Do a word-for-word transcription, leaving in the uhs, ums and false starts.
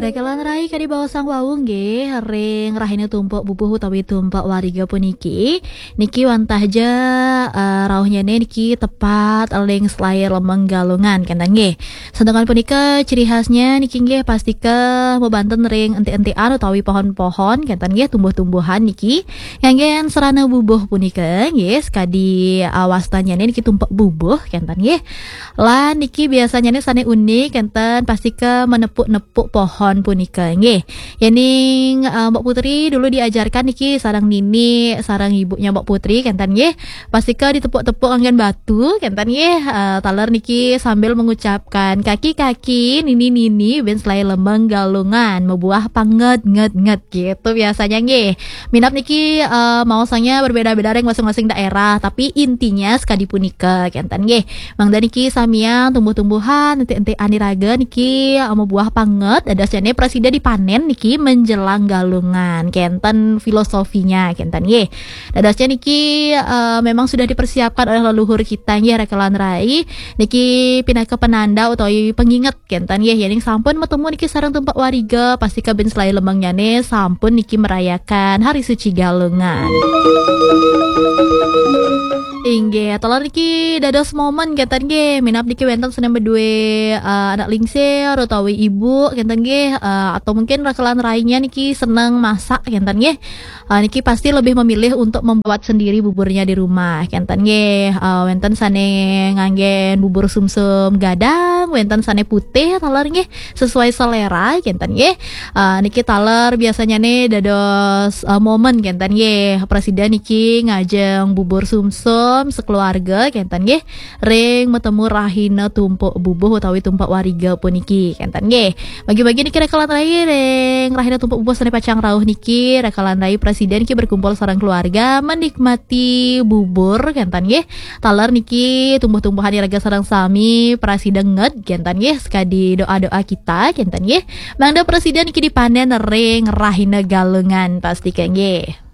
Rekelan rai kadi baosang wau nggih, ring rahina tumpuk bubuh utawi tumpuk wariga puniki, niki wantah ja, eh, rauhnyane niki tepat ring selai lemeng Galungan, kenten nggih. Santukan punika ciri khasnya niki nggih pastika mabanten ring entik-entikan utawi pohon-pohon, kenten nggih, tumbuh-tumbuhan niki. Nganggen sarana bubuh punika nggih, sakadi, eh, wastanyane niki tumpuk bubuh, kenten nggih. Lan niki biasanyane sane unik, kenten pastika menepuk-nepuk pohon punika nggih. Yening, eh, Mbok Putri dulu diajarkan niki sareng nini, sareng ibunya Mbok Putri, kenten nggih. Pastika ditepuk-tepuk nganggen batu, kenten nggih. Eh, taler niki sambil mengucapkan, "Kaki-kaki, nini-nini, ben selai lemeng Galungan, mabuah panget, nget, nget." Gitu biasanya nggih. Minab niki, eh, maosanya berbeda-beda ring masing-masing daerah, tapi intinya sekadi punika, kenten nggih. Mangda niki samian tumbuh-tumbuhan, entik-entikan iraga niki, eh, mabuah panget, dadosnyane prasida dipanen niki menjelang Galungan, kenten filosofinya, kenten nggih. Dadosnya niki, eh, memang sudah dipersiapkan oleh leluhur kita nggih, rekelan rai. Niki pinaka penanda utawi penginget, kenten nggih, yening sampun matemu niki sareng tumpuk wariga, pastika ben selai lemengnyane sampun niki merayakan Hari Suci Galungan. Inggih, taler niki dados momen, kenten nggih, minab niki wenten sane madue, eh, anak lingsir utawi ibu, kenten nggih, eh, atau mungkin rekelan rainya niki seneng masak, kenten nggih. Eh, niki pasti lebih memilih untuk membuat sendiri buburnya di rumah, kenten nggih. Eh, wenten sane nganggen bubur sumsum gadang, wenten sane putih, taler nggih, sesuai selera, kenten nggih. Eh, niki taler biasanya nih dados, eh, momen, kenten nggih. Prasida niki ngajeng bubur sumsum sekeluarga, kenten nggih, ring matemu rahina tumpuk bubuh utawi tumpuk wariga puniki, kenten nggih. Bagi-bagi niki rekelan rai ring rahina tumpuk bubuh sane pacang rauh niki, rekelan rai prasida niki berkumpul sareng keluarga menikmati bubur, kenten nggih. Taler niki tumbuh-tumbuhan iraga sareng sami prasida nget, kenten nggih, sekadi doa-doa kita, kenten nggih. Mangda prasida niki dipanen ring rahina Galungan, pastika nggih.